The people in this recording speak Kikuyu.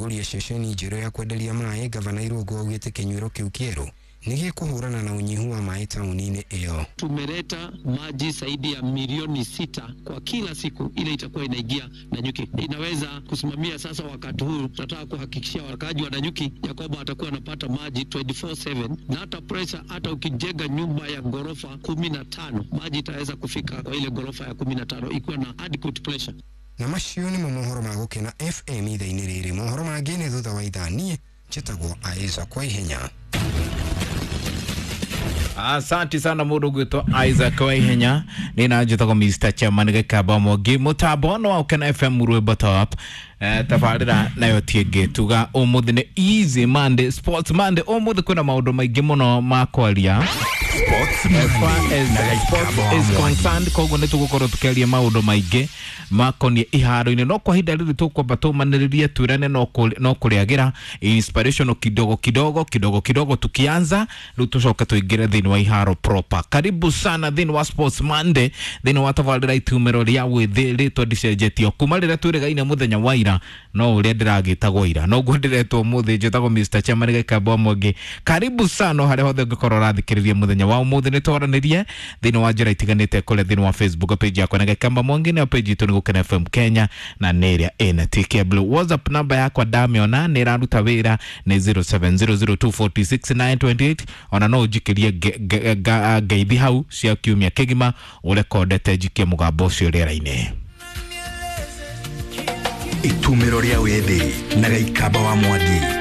Kũrugũria ceceni njerũ ya kwenderia maĩ, Gavana Irũngũ augĩte kĩnyuĩro kĩu kĩerũ nĩ gĩkũhũrana na ũnyihu wa maĩ taũni-inĩ ĩyo. Tumeleta maji zaidi ya milioni 6 kwa kila siku, ile itakuwa inaingia Nanyuki. Inaweza kusimamia sasa. Wakati huu tunataka kuhakikishia wakaaji wa Nanyuki ya kwamba watakuwa wanapata maji 24/7 na hata pressure, hata ukijenga nyumba ya ghorofa 15 maji itaweza kufika kwa ile ghorofa ya 15 ikiwa na adequate pressure. Na macio nĩmo mohoro ma Gũkena FM ithaa-inĩ rĩrĩ. Mohoro mangĩ nĩ thutha wa ithaa. Niĩ njĩtagwo Isaac kwa ihenya. Asante sana mundu gwitwo Isaac Waihenya. Ni na njitagwo Mr Chairman Gikamba Mwangi, mutambo no wa Ũkena FM, rwimbo top. Tabarĩra nayo ti ĩngĩ tuga ũmũthĩ nĩ Easy Monday, Sports Monday. Ũmũthĩ kwĩna maũndũ maingĩ mũno ma kwaria Sports as far Monday as na sports Gikamba is Mwangi. concerned. Koguo nĩ tũgũkorwo tũkĩaria maũndũ maingĩ makoniĩ iharo-inĩ, no kwa ihinda rĩrĩ tũkwamba tũmanĩrĩrie twĩrane no kũrĩagĩra inspiration kidogo kidogo kidogo kidogo, tukianza rĩu tũcoke tũingĩre thĩinĩ wa iharo proper. Karibu sana thĩinĩ wa Sports Monday, thĩinĩ wa tabarĩra itumĩro rĩa wĩthĩ. Rĩtwa ndicenjetio kuma rĩrĩa twĩrĩgaine mũthenya wa ira, no ũrĩa ndĩragĩtagwo ira noguo ndĩretwo ũmũthĩ. Njĩtagwo Mr Chairman Gĩkamba Mwangi. Karibu sana harĩa hothe ũngĩkorwo ũrathikĩrĩria mũthenya wa ũmũthĩ. Nĩ twaranĩrie thĩinĩ wa njĩra itiganĩte kũrĩa thĩinĩ wa Facebook page yakwa na Gĩkamba Mwangi, nayo page itũ nĩ Gũkena FM Kenya na nĩ ĩrĩa ĩna TK Blue. WhatsApp namba yakwa ndamĩona nĩ ĩraruta wĩra, nĩ 0700246928. Ona no ũnjikĩrie ngeithi hau cia kiumia kĩgima ũrekondete njikie mũgambo ũcio rĩera-inĩ. Itumĩro rĩa wĩthĩ na Gĩikamba wa Mwangi.